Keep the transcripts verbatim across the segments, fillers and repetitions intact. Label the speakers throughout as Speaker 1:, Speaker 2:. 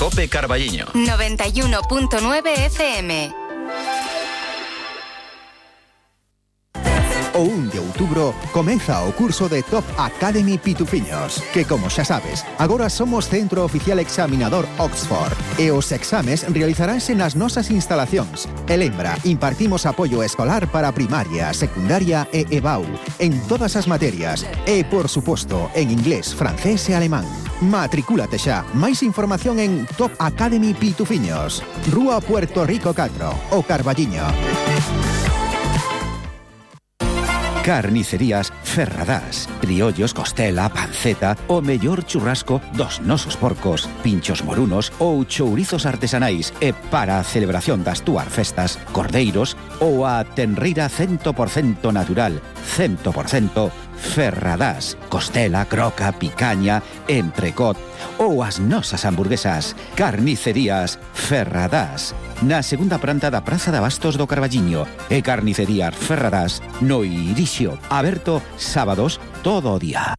Speaker 1: Cope Carballiño.
Speaker 2: noventa y uno punto nueve F M.
Speaker 3: O un de outubro comeza o curso de Top Academy Pitufiños, que, como xa sabes, agora somos centro oficial examinador Oxford e os exames realizaránse nas nosas instalacións. E lembra, impartimos apoio escolar para primaria, secundaria e E B A U en todas as materias e, por suposto, en inglés, francés e alemán. Matricúlate xa. Máis información en Top Academy Pitufiños, Rúa Puerto Rico catro, O Carballiño.
Speaker 4: Carnicerías Ferradás. Criollos, costela, panceta, o mellor churrasco dos nosos porcos, pinchos morunos ou chourizos artesanais e para a celebración das túas festas, cordeiros ou a tenreira cen por cento natural, cen por cento Ferradás, costela, croca, picaña, entrecot ou as nosas hamburguesas. Carnicerías Ferradás, na segunda planta da Praza de Abastos do Carballiño, e Carnicerías Ferradás no Irixio, aberto sábados todo o día.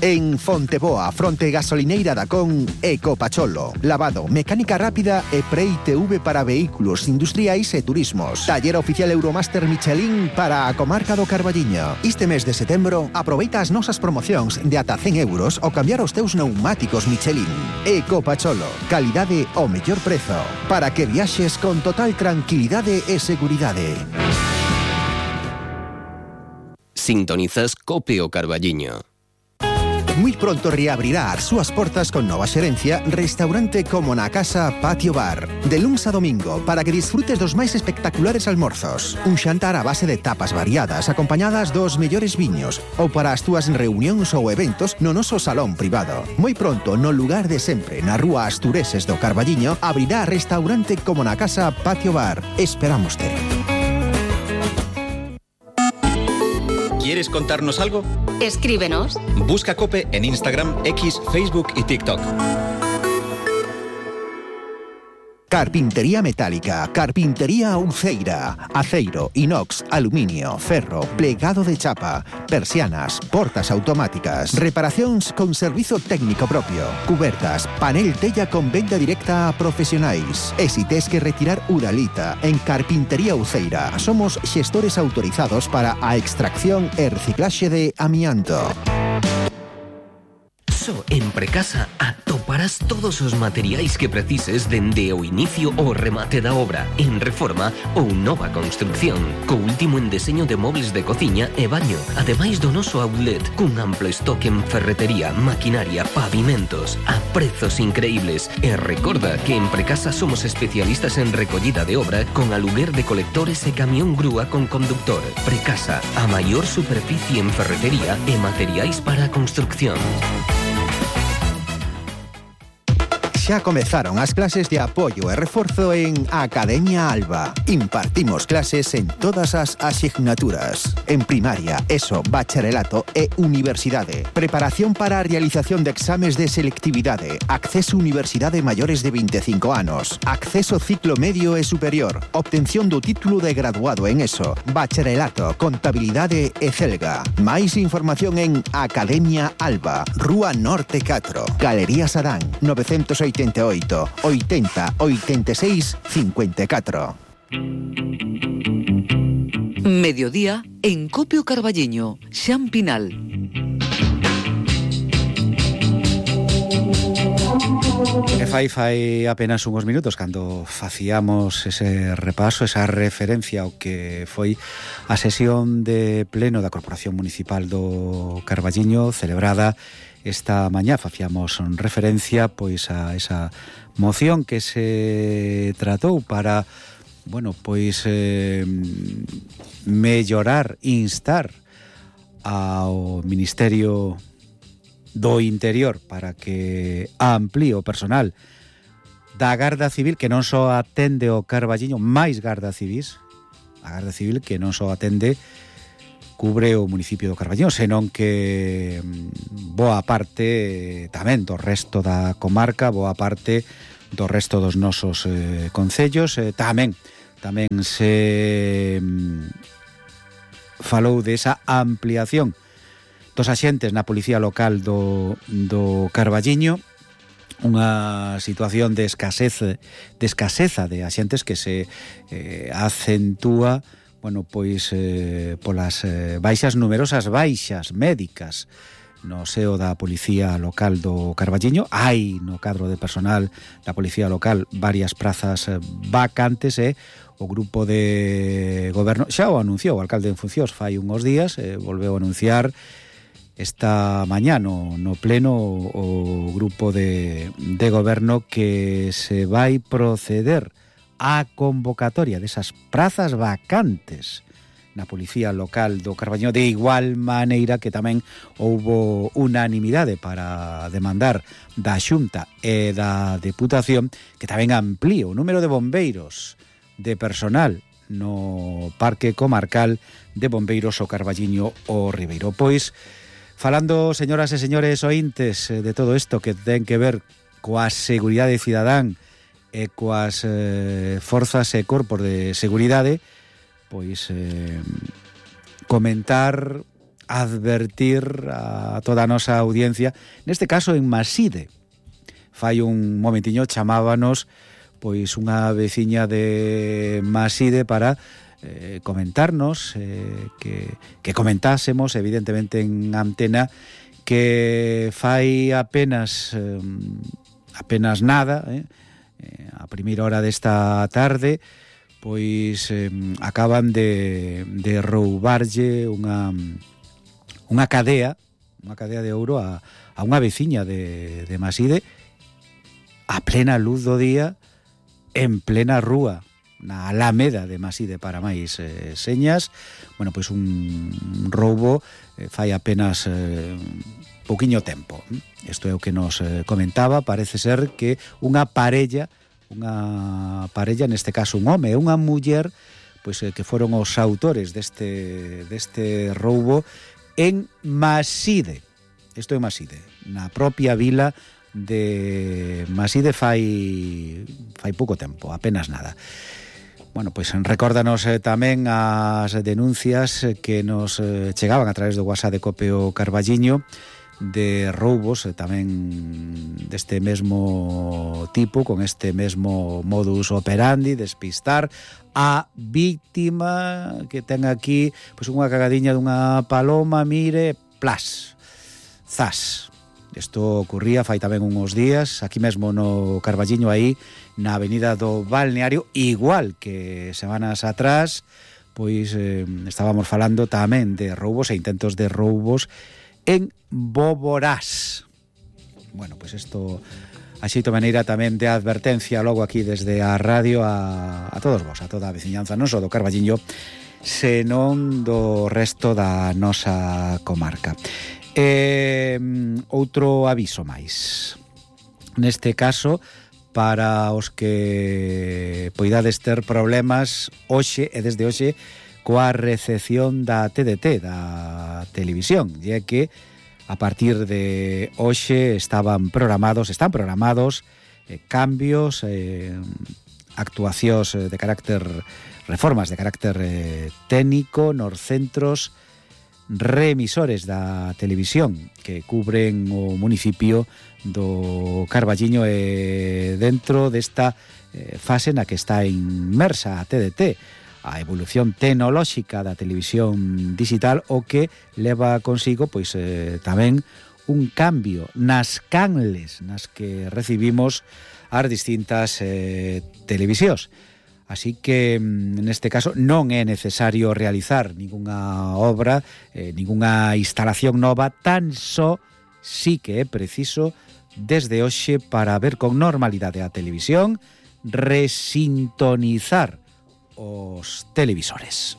Speaker 3: En Fonteboa, fronte gasolineira da Con, Ecopacholo. Lavado, mecánica rápida e Pre-I T V para vehículos industriais e turismos. Taller oficial Euromaster Michelin para a comarca do Carballiño. Este mes de setembro, aproveita as nosas promocións de ata cen euros ao cambiar os teus neumáticos Michelin. Ecopacholo, calidade ao mellor prezo, para que viaxes con total tranquilidade e seguridade.
Speaker 5: Sintonizas Cope o Carballiño.
Speaker 3: Muy pronto reabrirá as súas portas con nova xerencia Restaurante Como na Casa Patio Bar. De luns a domingo, para que disfrutes dos máis espectaculares almorzos. Un xantar a base de tapas variadas, acompañadas dos mellores viños, ou para as túas reunións ou eventos no noso salón privado. Moi pronto, no lugar de sempre, na rúa Astureses do Carballiño, abrirá Restaurante Como na Casa Patio Bar. Esperámoste.
Speaker 1: ¿Quieres contarnos algo?
Speaker 2: Escríbenos.
Speaker 1: Busca Cope en Instagram, X, Facebook y TikTok.
Speaker 3: Carpintería metálica, carpintería Uceira, aceiro, inox, aluminio, ferro, plegado de chapa, persianas, portas automáticas, reparacións con servizo técnico propio, cubertas, panel tella con venda directa a profesionais. E si tes que retirar uralita, en Carpintería Uceira somos xestores autorizados para a extracción e reciclaxe de amianto.
Speaker 5: Só en Precasa atoparás todos os materiais que precises dende o inicio ao remate da obra, en reforma ou nova construcción, co último en deseño de mobles de cociña e baño, ademais do noso outlet, cun amplo estoque en ferretería, maquinaria, pavimentos, a prezos increíbles. E recorda que en Precasa somos especialistas en recollida de obra con aluguer de colectores e camión grúa con conductor. Precasa, a maior superficie en ferretería e materiais para a construcción.
Speaker 3: Xa comezaron as clases de apoio e reforzo en Academia Alba. Impartimos clases en todas as asignaturas. En primaria, ESO, bacharelato e universidade. Preparación para a realización de exames de selectividade. Acceso a universidade maiores de vinte e cinco anos. Acceso ciclo medio e superior. Obtención do título de graduado en ESO, bacharelato, contabilidade e celga. Máis información en Academia Alba, Rúa Norte catro, Galería Sadán, novecientos oitenta e oito, oitenta, oitenta e seis, cincuenta e catro.
Speaker 6: Mediodía en Cope o Carballiño, Xan Pinal.
Speaker 4: E fai fai apenas uns minutos cando facíamos ese repaso, esa referencia ao que foi a sesión de pleno da Corporación Municipal do Carballiño celebrada esta mañá. Facíamos referencia pois a esa moción que se tratou para, bueno, pois eh, mellorar, instar ao Ministerio do Interior para que amplíe o personal da Garda Civil, que non só atende o Carballiño, máis Garda Civís, a Garda Civil que non só atende cubre o municipio do Carballiño, senón que boa parte tamén do resto da comarca, boa parte do resto dos nosos eh, concellos. Eh, tamén tamén se mm, falou desa ampliación dos axentes na Policía Local do, do Carballiño,
Speaker 7: unha situación de escasez, de escaseza de axentes que se eh, acentúa, bueno, pois eh, polas eh, baixas, numerosas baixas médicas no seo da Policía Local do Carballiño. Hai no cadro de personal da Policía Local varias prazas vacantes e o grupo de goberno xa o anunciou o alcalde en funcións fai uns días, eh, volveu a anunciar esta mañá no, no pleno o grupo de, de goberno que se vai proceder á convocatoria desas prazas vacantes na Policía Local do Carballiño, de igual maneira que tamén houbo unanimidade para demandar da Xunta e da Deputación que tamén amplíe o número de bombeiros, de personal no Parque Comarcal de Bombeiros o Carballiño o Ribeiro. Pois, falando, señoras e señores ointes, de todo isto que ten que ver coa seguridade cidadán e coas eh, forzas e corpos de seguridade, pois eh, comentar, advertir a toda a nosa audiencia, neste caso en Maside. Fai un momentiño chamábanos pois unha veciña de Maside para eh, comentarnos, eh, que, que comentásemos evidentemente en antena que fai apenas eh, apenas nada, eh, a primeira hora desta tarde, pois eh, acaban de, de roubarlle unha unha cadea, unha cadea de ouro a, a unha veciña de, de Maside a plena luz do día, en plena rúa, na Alameda de Maside para máis eh, señas. Bueno, pois un roubo eh, fai apenas eh, pouquiño tempo. Isto é o que nos eh, comentaba. Parece ser que unha parella unha parella, neste caso un home e unha muller, pois eh, que foron os autores deste deste roubo en Maside. Isto é Maside, na propia vila de Maside fai fai pouco tempo, apenas nada. Bueno, pois recórdanos eh, tamén as denuncias que nos eh, chegaban a través do WhatsApp de Copeo Carballiño de roubos e tamén deste mesmo tipo, con este mesmo modus operandi, despistar a víctima que ten aquí pois unha cagadiña dunha paloma, mire, plas, zas. Isto ocurría fai tamén uns días aquí mesmo no Carballiño, aí na avenida do Balneario, igual que semanas atrás, pois eh, estábamos falando tamén de roubos e intentos de roubos en Boborás. Bueno, pois isto a xeito maneira tamén de advertencia logo aquí desde a radio a, a todos vos, a toda a veciñanza, non só do Carballiño, senón do resto da nosa comarca. E outro aviso máis. Neste caso, para os que poidades ter problemas hoxe e desde hoxe coa recepción da T D T, da televisión, e que a partir de hoxe estaban programados, están programados eh, cambios, eh, actuacións de carácter, reformas de carácter eh, técnico nos centros reemisores da televisión que cubren o municipio do Carballiño e dentro desta eh, fase na que está inmersa a T D T, a evolución tecnolóxica da televisión digital, o que leva consigo pois eh, tamén un cambio nas canles nas que recibimos as distintas eh, televisións. Así que neste caso non é necesario realizar ningunha obra, eh, ningunha instalación nova, tan só sí que é preciso desde hoxe, para ver con normalidade a televisión, resintonizar os televisores.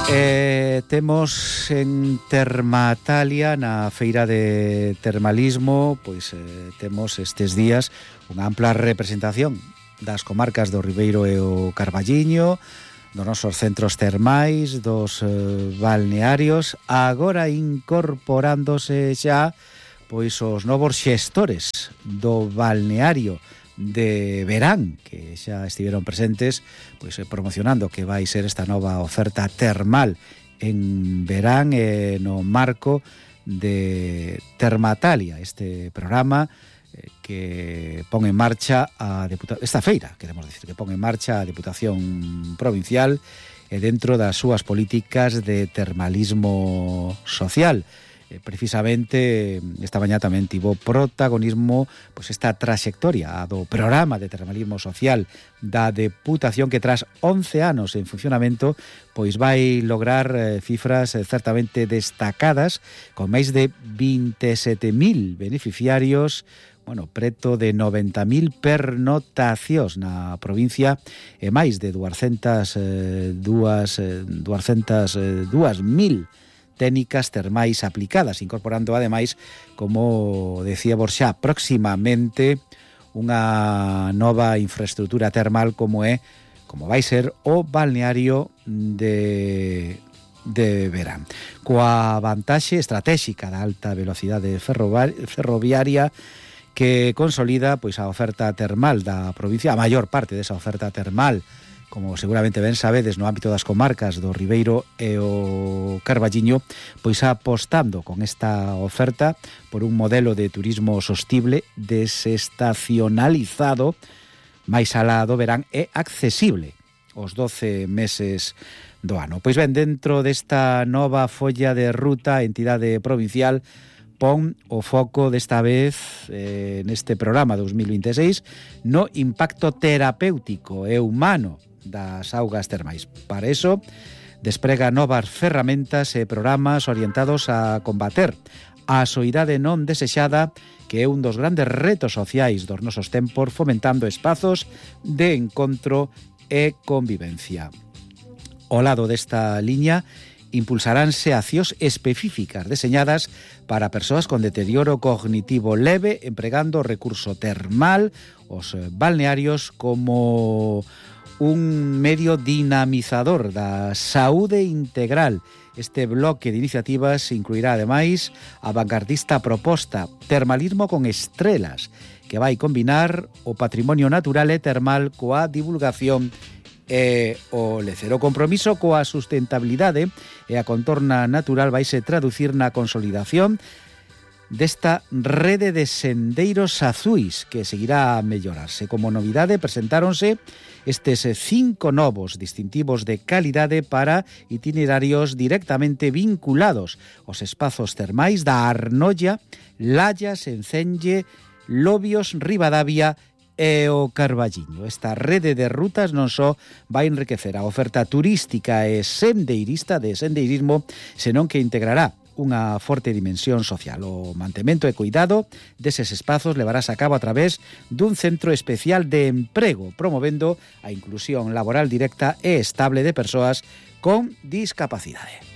Speaker 7: Eh, temos en Termatalia, na feira de termalismo, pois eh, temos estes días unha ampla representación das comarcas do Ribeiro e o Carballiño, dos nosos centros termais, dos eh, balnearios, agora incorporándose xa pois os novos xestores do balneario de verán, que xa estiveron presentes pois promocionando que vai ser esta nova oferta termal en verán e no marco de Termatalia, este programa eh, que pon en marcha a Deputa- esta feira, queremos decir, que pon en marcha a Deputación Provincial e dentro das súas políticas de termalismo social. Eh, precisamente esta mañá tamén tivo protagonismo pois esta trayectoria do programa de termalismo social da Deputación, que tras once anos en funcionamento pois vai lograr eh, cifras eh, certamente destacadas, con máis de veintisiete mil beneficiarios, bueno, preto de noventa mil pernotacións na provincia e máis de duascentas dúas mil técnicas termais aplicadas, incorporando ademais, como decía Borxá, próximamente unha nova infraestructura termal como é, como vai ser o balneario de de verán. Coa vantaxe estratégica da alta velocidade ferroviaria que consolida pois a oferta termal da provincia, a maior parte desa oferta termal, como seguramente ben sabedes, no ámbito das comarcas do Ribeiro e o Carballiño, pois apostando con esta oferta por un modelo de turismo sostible, desestacionalizado, máis alá do verán e accesible os doce meses do ano. Pois ben, dentro desta nova folla de ruta, a entidade provincial pon o foco desta vez eh, neste programa dos mil veintiséis no impacto terapéutico e humano das augas termais. Para eso, desprega novas ferramentas e programas orientados a combater a soidade non desexada, que é un dos grandes retos sociais dos nosos tempos, fomentando espazos de encontro e convivencia. Ao lado desta liña, impulsaránse accións específicas deseñadas para persoas con deterioro cognitivo leve, empregando o recurso termal, os balnearios, como un medio dinamizador da saúde integral. Este bloque de iniciativas incluirá ademais a vanguardista proposta Termalismo con Estrelas, que vai combinar o patrimonio natural e termal coa divulgación e o lecer. O compromiso coa sustentabilidade e a contorna natural vaise traducir na consolidación desta rede de sendeiros azuis, que seguirá a mellorarse. Como novidade, presentáronse estes cinco novos distintivos de calidade para itinerarios directamente vinculados aos espazos termais da Arnolla, Lallas, Encenlle, Lobios, Ribadavia e o Carballiño. Esta rede de rutas non só vai enriquecer a oferta turística e sendeirista de sendeirismo, senón que integrará unha forte dimensión social. O mantemento e cuidado deses espazos levarás a cabo a través dun centro especial de emprego, promovendo a inclusión laboral directa e estable de persoas con discapacidade.